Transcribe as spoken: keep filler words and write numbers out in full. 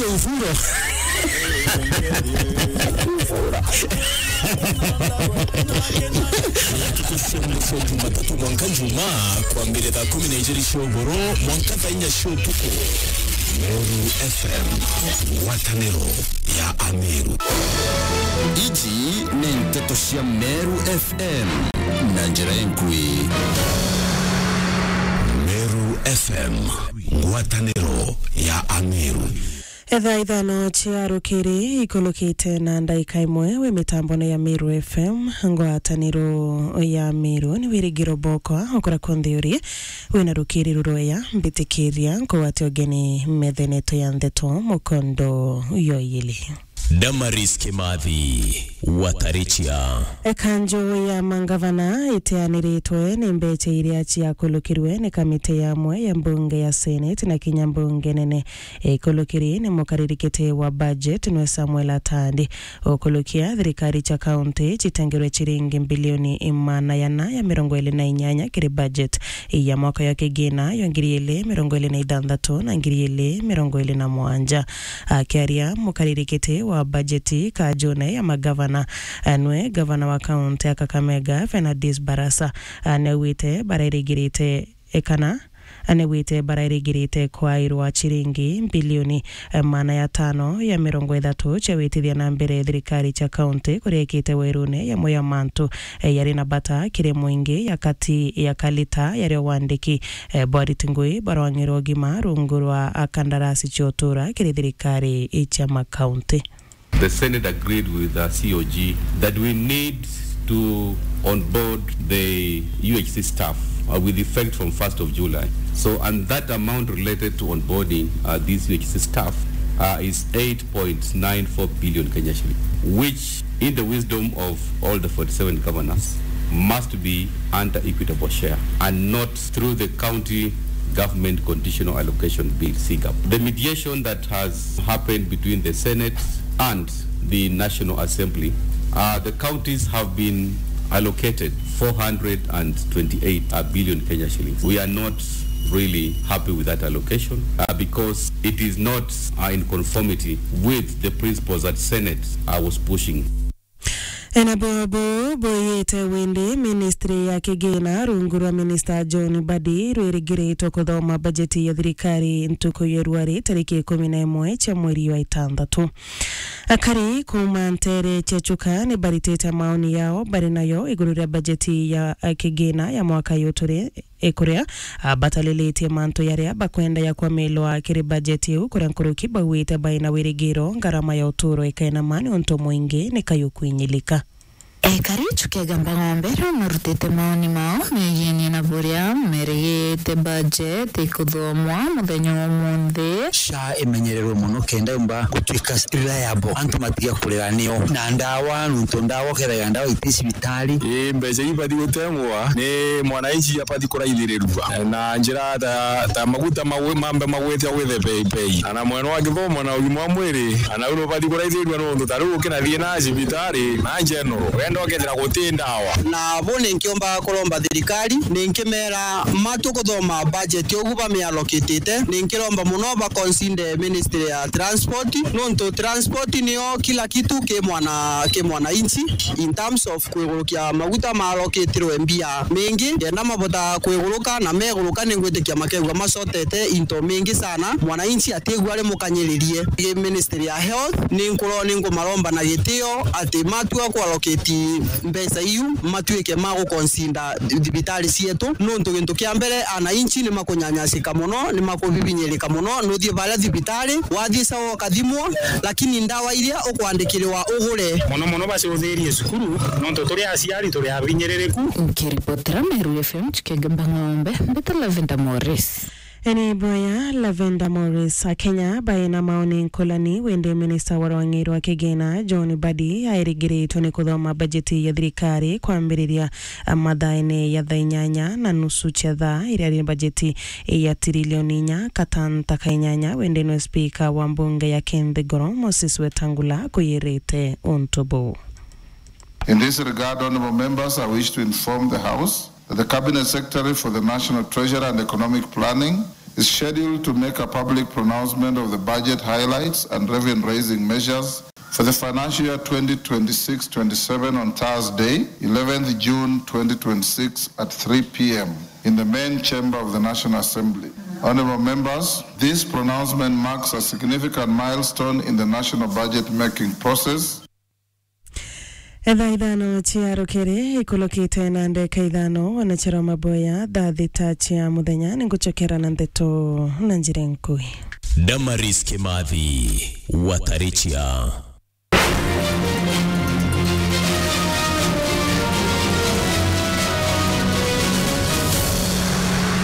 Uvuro. Ntuku cia mwisho Jumatatu mwanka Jumaa, kwambire thaa kumi na ijiri cia ugoro mwanka thaa inya cia utuku. Meru F M, ngwataniro ya Ameru. Iji ni nteto cia Meru F M na njira inkui. Meru F M, ngwataniro ya Ameru. Ethaa ithano cia rukiri ikulukite na ndaika imwe, wi mitambone ya Meru F M, ngwataniro ya Meru. Ni Wirigiro Bokwa, ukura kunthe uri, wina rukiri rurweya, mbitikiria nkugwate ugeni methene yetu ya nteto mukondo yoyili. Damaris Kimathi, Watarichia. Ekanju ya mangavana iteaniritwe ni mbecha iria ciakulukirwe ni kamiti ya amwe ya mbunge ya Senate na kinya mbunge nene. Ikulukiri ni mukaririkiti wa budget nwe Samuel Atandi. Ukulukia thirikari cia kaunti citengerwe ciringi mbilioni imana yana ya mirongo iri na inyanya kiri budget ya mwaka ya kigina ya ngiri iri mirongo iri na ithanthatu na ngiri iri mirongo iri na mwanja. Akiaria mukaririkiti wa bajeti kajune ya magavana, nwe gavana wa kaunti ya Kakamega, Fernandes Barasa, anaugite barairigirite ekana anewite barairigirite kwairwa ciringi mbilioni mana ya tano ya mirongo ithatu cia witithia na mbere thirikari cia kaunti kuria ikite werune yamwe ya mantu yari na bata kiri mwingi ya kati ya kalita yario wandiki. Borit Ngui barwang'irwa ugima rungu rwa kandarasi cia utura kiri thirikari cia makaunti. The Senate agreed with the C O G that we need to onboard the U H C staff, uh, with effect from first of July. So, and that amount related to onboarding, uh, these U H C staff, uh, is eight point nine four billion Kenya shilling, which, in the wisdom of all the forty-seven governors, must be under equitable share and not through the county government conditional allocation bill, C gov. The mediation that has happened between the Senate and the National Assembly, uh, the counties have been allocated four hundred and twenty-eight billion Kenya shillings. We are not really happy with that allocation, uh, because it is not, uh, in conformity with the principles that Senate, uh, was pushing. Ena bobo boyete wende ministry ya kigina rungu rwa minister John Mbadi rwirigiritwe kuthoma bajeti ya thirikari ntuku ya rwari tariki ikumi na imwe cia mweri wa itantatu. Akari kuuma ntere cia Chuka ni baritite maoni yao bari nayo iguru ria bajeti ya, eh, kigina ya mwaka uyu turi, eh, kuria, ah, batalilitie mantu yaria bakwenda ya kwamilwa kiri bajeti iu, kuria nkuruki baugite baina wirigiro ngarama ya uturo ikainama niuntu mwingi ni kayu kwinyilika. Ekari Chuka Igamba Ng'ombe riu marutite maoni mao megienie na buria merigite bajeti ikuthomwa muthenya wa umunthi. SHA imenyererwe mono kenda yumba gutuika reliable, antu matiga kurira nio. Na ndawa, nontu ndawa ukethagira ndawa iti cibitari. Ii, mbeca ibati gutengwa ni mwananchi abati kuraithirirua na njira ta, ta maguta magwi-, mambe magwite gwithe bei bei. Na, na mwena wa githomo na ugima wa mwiri, na nau nubati kuraithirirua nontu ta riu ukinathii na cibitari na general, wenda ukethira guti ndawa. Na bo ninkiomba kuromba thirikari, ninkimera matu kuthoma budget ugu bamiallocatite, ninkiromba mono ba consider ministry ya transport, nontu transport nio kila kitu ki mwana, ki mwananchi, in terms of kwigurukia maguta marokitirwe mbia mingi, kenda mabota kwiguruka na meguruka, ningwitikia makegua macotete into mingi sana, mwananchi atigua ari mukanyiririe. Gi ministry ya health, ninkuro-, ninkumaromba na gitio ati matua kuallocate mbeca iu, matuike ma guconsider thibitari cietu, nontu gintu kia mbere, ananchi ni makunyanyasika mono, ni makubibinyirika mono. Nuthii baria thibitari, wathii sawa ukathimwa, lakini ndawa iria ukwandikirwa ugure. Mono mono bacuthirie cukuru, nontu turi aciari turi abinyiririku. Nkiripotera Meru F M Chuka Igamba Ng'ombe, mbita Lavender Morris. Eni boya Lavender Morris. Akenya baina maoni nkulani wende minista wa rwang'i rwa kigina John Mbadi airigiritwe ni kuthoma bajeti ya thirikari kwambiriria mathaene ya thaa inyanya na nusu cia thaa iria ri bajeti ya tirilioni inya katanta ka inyanya, wende nwe spika wa mbunge ya Kinthigoro Moses Wetangula kwiyirite untu buu. In this regard, honourable members, I wish to inform the House that the Cabinet Secretary for the National Treasury and Economic Planning is scheduled to make a public pronouncement of the budget highlights and revenue-raising measures for the financial year twenty twenty-six twenty-seven on Thursday, eleventh June twenty twenty-six, at three p.m. in the main chamber of the National Assembly. Honorable members, this pronouncement marks a significant milestone in the national budget-making process. Etha ithano cia rukiri ikulukite na ndeka ithano, wanachara maboya thaa thita cia muthenya, ningucokera na ndeto na njira nkui. Damaris Kimathi, Watarichia.